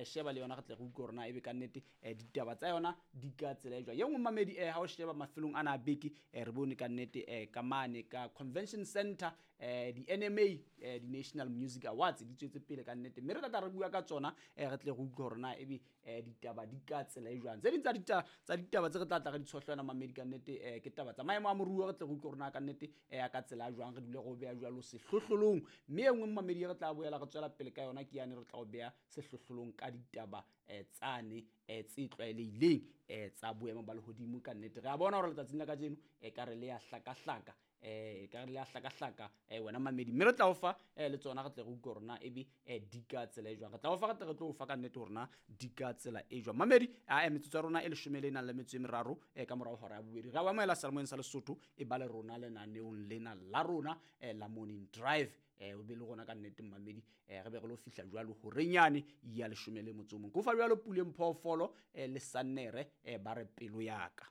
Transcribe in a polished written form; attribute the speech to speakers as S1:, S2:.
S1: e sheba le yona, re tle re utlwe hore na ebe kannete ditaba tsa yona di ka tsela e jwang. Ye nngwe, mamedi, ha o sheba mafelong ana a beke, re bone kannete ka mane ka Convention Center, di-NMA, di-National Music Awards di tswetse pele kannete, mme re tla tla re bua ka tsona, re tle re utlwe hore na ebe ditaba di ka tsela e jwang. Tse ding tsa ditaba tse re tla tla re di tshohla yona, mamedi, kannete, ke taba tsa maemo a moruo, re tle re utlwe hore na kannete ya ka tsela jwang, re dule re o beha jwalo sehlohlolong. Mme e nngwe, mamedi, e re tla boela re tswela pele ka yona ke yane re tla o beha sehlohlolong ka ditaba tsane tse tlwaelehileng tsa boemo ba lehodimo. Ka nnete re a bona hore letsatsing la kajeno e ka re le ya hlakahlaka, ka re le ya hlakahlaka, wena mamedi, mme re tla o fa le tsona, re tle re utlwe hore na ebe di ka tsela e jwang. Re tla o fa, re tle re tlo o fa ka nnete hore na di ka tsela e jwang, mamedi. A metsotso ya rona e 13 ka morao hora ya bobedi. Re a o amohela seyalemoyeng sa Lesotho, e ba le rona lenaneong lena la rona la Morning Drive. O be le rona ka nnete, mmamedi, re be re lo fihla jwalo horenyane ya 11. Ke o fa jwalo Puleng Phoofolo le Sannere, ba re Pelo Yaka.